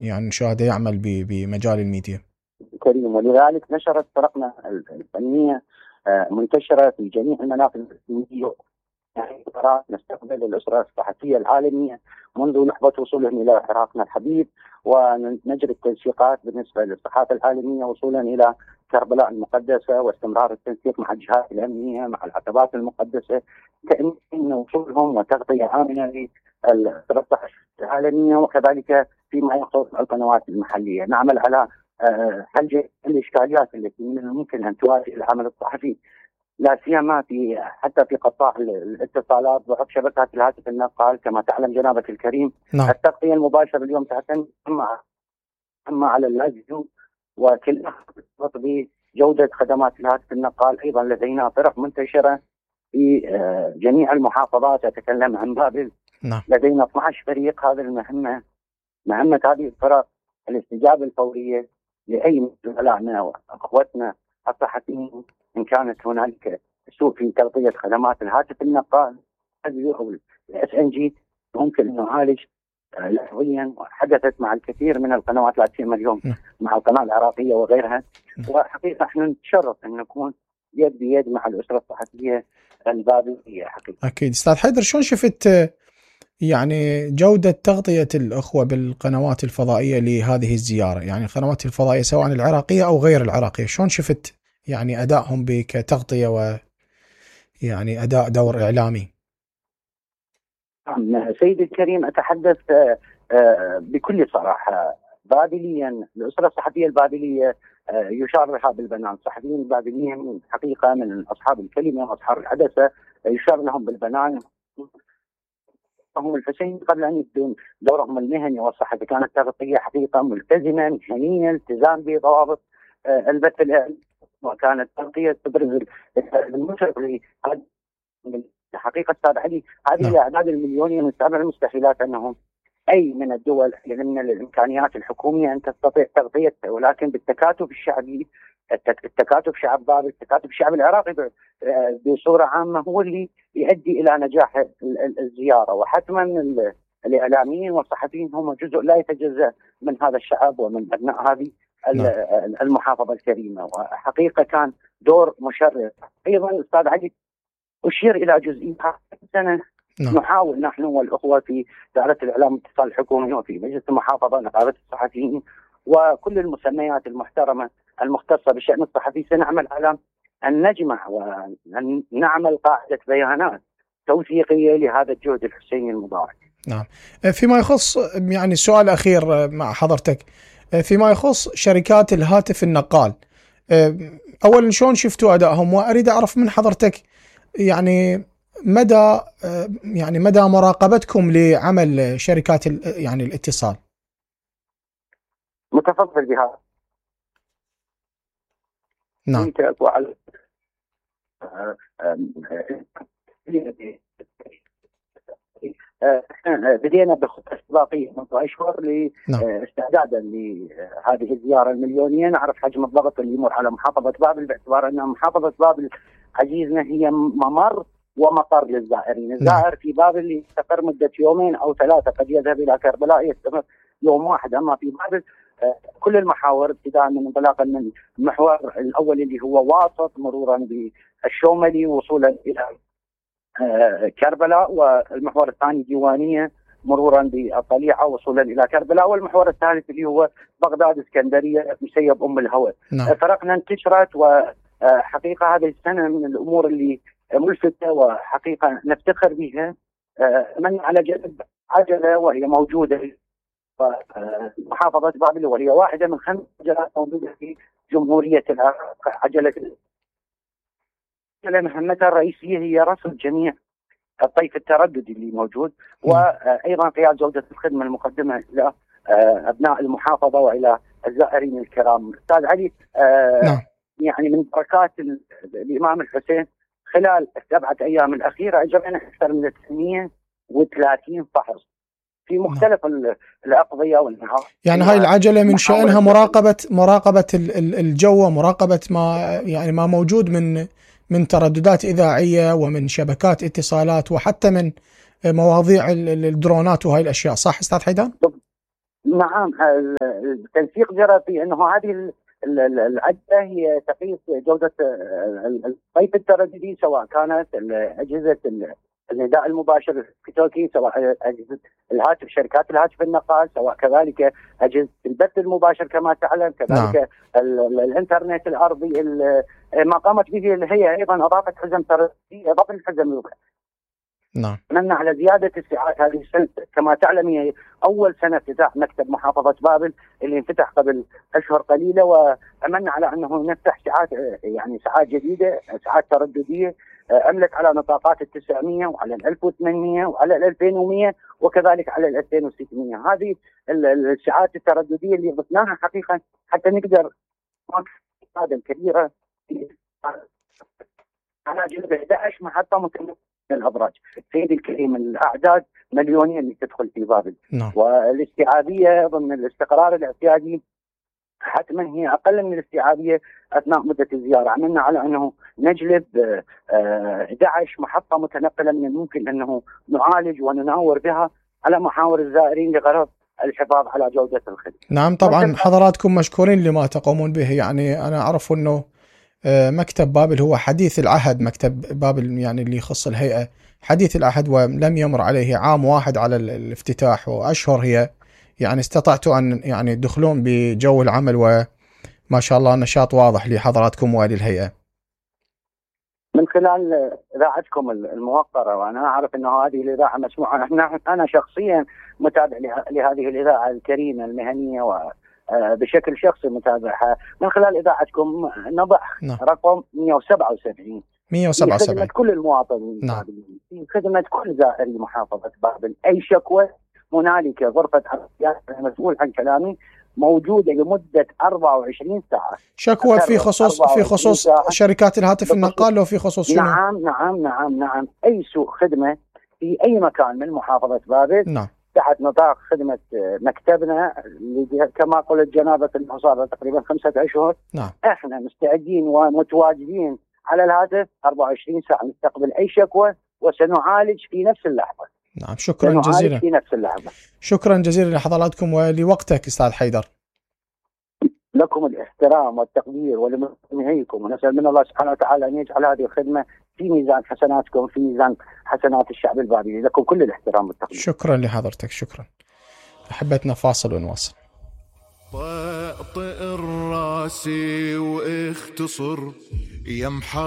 يعني نشاهده يعمل بمجال الميديا. كريم، ولذلك نشرت فرقنا الفنية منتشرة في جميع المناطق الفنية. يعني نستقبل الأسرة الصحفية العالمية منذ لحظة وصولهم إلى عراقنا الحبيب، ونجري التنسيقات بالنسبة للصحافة العالمية وصولا إلى كربلاء المقدسة، واستمرار التنسيق مع الجهات الأمنية مع العتبات المقدسة تأمين وصولهم وتغطية آمنة للأسرة الصحفية العالمية، وكذلك فيما يخص القنوات المحلية. نعمل على حل الإشكاليات التي من الممكن أن تواجه العمل الصحفي، لا سيما حتى في قطاع الاتصالات ضعف شبكات الهاتف النقال. كما تعلم جنابك الكريم، نعم. التغطية المباشرة اليوم تعتمد أما على اللاجئين، وكلها ترتبط بجودة خدمات الهاتف النقال. أيضا لدينا فرق منتشرة في جميع المحافظات. أتكلم عن بابل. نعم. لدينا 12 فريق. هذه مهمة هذه الفرق الاستجابة الفورية لأي من زملائنا وأخوتنا الصحفيين إن كانت هنالك سوء في تغطية خدمات الهاتف النقال أو SNG، ممكن أن نعالج لحظيا. وحدثت مع الكثير من القنوات، لا سيما اليوم مع القناة العراقية وغيرها. وحقيقة احنا نتشرف أن نكون يد بيد مع الأسرة الصحفية البابلية. حقيقة أكيد. أستاذ حيدر، شلون شفت يعني جودة تغطية الأخوة بالقنوات الفضائية لهذه الزيارة؟ يعني القنوات الفضائية سواء العراقية أو غير العراقية، شلون شفت يعني أدائهم كتغطية ويعني أداء دور إعلامي؟ سيدي الكريم، أتحدث بكل صراحة. بابليا الأسرة الصحفية البابلية يشار لها بالبنان. الصحفيين البابليين حقيقة من أصحاب الكلمة وأصحاب الحدثة، يشار لهم بالبنان. هم الحسين قبل أن يبدون دورهم المهني والصحفي كانت تغطية حقيقة ملتزمة مهنية، التزام بضوابط البث الإعلامي، وكانت تغطية تبرز المنتج. حقيقة أستاذ علي، هذه الأعداد المليونية من السبع المستحيلات أنهم أي من الدول من الإمكانيات الحكومية أن تستطيع تغطيتها، ولكن بالتكاتف الشعبي، التكاتف شعب بابل، التكاتف الشعب العراقي بصورة عامة هو اللي يؤدي إلى نجاح الزيارة. وحتما الإعلاميين والصحفيين هم جزء لا يتجزأ من هذا الشعب ومن أبناء هذه المحافظة الكريمة. وحقيقة كان دور مشرف. أيضا أستاذ علي، أشير إلى جزئية سنة نحاول نحن والأخوة في دائرة الإعلام والاتصال الحكومي وفي مجلس المحافظة نقابة الصحفيين وكل المسميات المحترمة المختصة بالشأن الصحفي، سنعمل على أن نجمع وأن نعمل قاعدة بيانات توثيقية لهذا الجهد الحسيني المضاعف. نعم. فيما يخص يعني السؤال الأخير مع حضرتك، فيما يخص شركات الهاتف النقال، أولا شلون شفتوا أدائهم؟ وأريد أعرف من حضرتك يعني مدى مراقبتكم لعمل شركات يعني الاتصال. متفضل بها. نعم. بدينا بخطة استباقية منذ أشهر لاستعدادا لهذه الزيارة المليونية. نعرف حجم الضغط اللي يمر على محافظة بابل، باعتبار أن محافظة بابل عزيزنا هي ممر ومقر للزائرين. الزائر في بابل يستقر مدة يومين أو ثلاثة، قد يذهب إلى كربلاء يستمر يوم واحد. أما في بابل كل المحاور ابتداء من انطلاقا من المحور الأول اللي هو واسط، مرورا بالشوملي، وصولا إلى كربلاء، والمحور الثاني ديوانية مرورا بالطليعة وصولا إلى كربلاء، والمحور الثالث اللي هو بغداد اسكندرية مسيب أم الهوى. فرقنا انتشرت، وحقيقة هذه السنة من الأمور اللي ملفتة وحقيقة نفتخر بها من على جانب عجلة وهي موجودة في محافظة بابل، وهي واحدة من 5 عجلات موجودة في جمهورية العراق. عجلة مهمتها الرئيسية هي رصد جميع الطيف الترددي اللي موجود، وأيضا قياد جودة الخدمة المقدمة إلى أبناء المحافظة وإلى الزائرين الكرام. أستاذ علي، يعني من بركات الإمام الحسين خلال ال7 أيام الأخيرة أجرينا أكثر من 330 فحص في مختلف الأقضية والمحافظ. يعني هاي العجلة من شأنها مراقبة الجو، مراقبة ما موجود من ترددات إذاعية ومن شبكات اتصالات وحتى من مواضيع الدرونات وهاي الأشياء، صح أستاذ حيدان؟ نعم، التنسيق جرى في انه هذه العدة هي تقيس جودة الطيف الترددي، سواء كانت أجهزة النداء المباشر في توكي، سواء أجهزة الهاتف، شركات الهاتف النقال، سواء كذلك أجهزة البث المباشر كما تعلم، كذلك الإنترنت الأرضي. ما قامت به الهيئة أيضا أضافت حزم ترددي، إضافة الحزم. نعم. أملنا على زيادة الساعات هذه السنة، كما تعلم هي أول سنة افتتاح مكتب محافظة بابل اللي انفتح قبل أشهر قليلة، وأملنا على أنه نفتح ساعات، يعني ساعات جديدة، ساعات ترددية أملت على نطاقات 900 وعلى 1800 وعلى 2100 وكذلك على 2600. هذه الساعات الترددية اللي ضفناها حقيقة حتى نقدر هذا الكبيرة على جنب 11 محطة متنقلة الابراج. سيدي الكريم، الاعداد مليونيه اللي تدخل في بابل. والاستيعابيه ضمن الاستقرار الاعتيادي حتما هي اقل من الاستيعابيه اثناء مده الزياره. عملنا على انه نجلب 11 محطه متنقله من الممكن انه نعالج ونناور بها على محاور الزائرين لغرض الحفاظ على جوده الخدمه. نعم طبعا حضراتكم مشكورين لما تقومون به. يعني انا اعرف انه مكتب بابل هو حديث العهد، مكتب بابل يعني اللي يخص الهيئة حديث العهد، ولم يمر عليه عام واحد على الافتتاح، وأشهر هي يعني استطعتوا أن يعني تدخلون بجو العمل، وما شاء الله نشاط واضح لحضراتكم وللهيئة من خلال إذاعتكم الموقرة. وأنا أعرف أنه هذه الإذاعة مسموعة. أنا شخصيا متابع لهذه الإذاعة الكريمة المهنية، وبشكل شخصي متابعها من خلال إذاعتكم. نضع رقم 177 في خدمة كل المواطنين، في خدمة كل زائري محافظة بابل. أي شكوى هنالك غرفة عمليات المسؤول عن كلامي موجودة لمدة 24 ساعة. شكوى في خصوص شركات الهاتف النقال، لو في خصوص شنو؟ نعم أي سوء خدمة في أي مكان من محافظة بابل تحت نطاق خدمة مكتبنا اللي كما قلت جنابة المصادرة تقريبا 5 أشهر. احنا مستعدين ومتواجدين على الهاتف 24 ساعة نستقبل أي شكوى وسنعالج في نفس اللحظة. نعم شكرا جزيلا. في نفس اللحظة. شكرا جزيلا لحضراتكم ولوقتك أستاذ حيدر. لكم الاحترام والتقدير ولمنهيكم، ونسأل من الله سبحانه وتعالى أن يجعل هذه الخدمة في ميزان حسناتكم، في ميزان حسنات الشعب البابلي. لكم كل الاحترام والتقدير. شكرا لحضرتك. شكرا. أحبتنا فاصل ونواصل. طئ الراسي واختصر يا